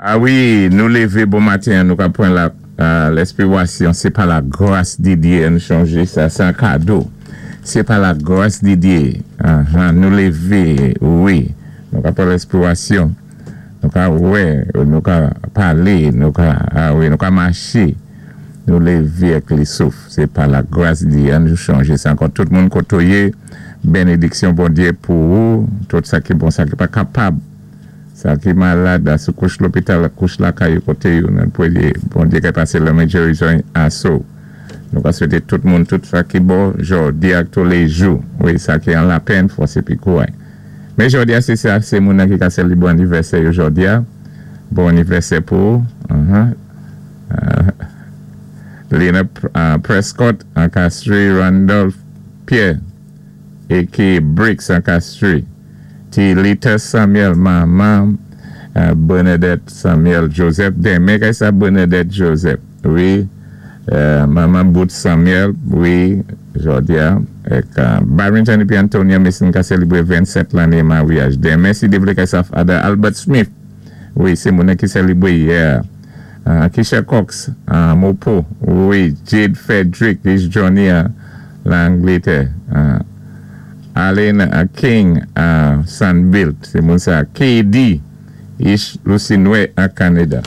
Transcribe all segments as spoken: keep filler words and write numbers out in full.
A wi, nou lévé bon maten, nou ka pwan la lespirasyon, sé pa la gras di Diyé, nou chanjé sa, sé an kado. Sé pa la gras di Diyé, nou lévé, wi, nou ka pwan lespirasyon, nou ka wè, nou ka palé, nou ka, a wi, nou ka maché, nou lévé ak li souf, sé pa la gras di Diyé, nou chanjé sa. Ankò tout moun koto yé, bénédiksyon Bondyé pou ou, tout sa ki bon, sa ki pa kapab, sa ki malad, sou kouch lopital, kouch lakay koté yo, nou pwéyé, Bondyé ka pasé lanmen gérizon aso. Nou ka swété tout moun, tout sa ki bon, jòdi ak touléjou. Wi, sa ki an lapèn, fòs épi kouray. Men jòdi a, sé sa, sé moun ki ka sélibwé anivèsè yo jòdi a. Bon anivèsè pou, uh-huh. Uh, Lena uh, Prescott, an Castries, Randolph Pierre, A K A. Bricks an Castries. Ti Lita Samuel, manman, uh, Bernadette Samuel Joseph. Denmen kay sa Bernadette Joseph. Wi, uh, manman Bout Samuel, wi, jòdi a. Ek uh, Barrington épi Antonia Mason ka sélibwé vennsèt lanné maryaj. Denmen si Dye vlé kay sa Father Albert Smith. Wi, sé moun ki sélibwé yè. Uh, Kisha Cox, uh, Mopo, wi, Jade Frederick, this Johnny uh, Langletè. Uh, Alan uh, King, uh, Sandbilt, sé moun sa K D, Ish Lucinwe a Canada.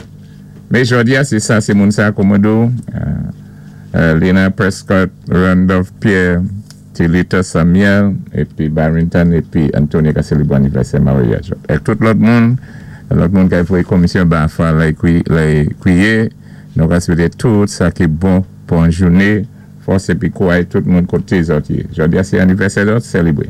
Men jòdi a, sé sa, sé moun sa komodo, uh, uh, Lena Prescott, Randolph Pierre, Tilita Samuel, épi Barrington, épi Antonia ka sélibwé anivèsè maryaj. Ek tout lòt moun, lòt moun ka voyé komisyon ba fwa lay kwiyé, nou ka swété tout sa ki bon pou an jouné, fòs épi kouray tout moun koté zòt yé. Jòdi a sé anivèsè lòt, sélibwé.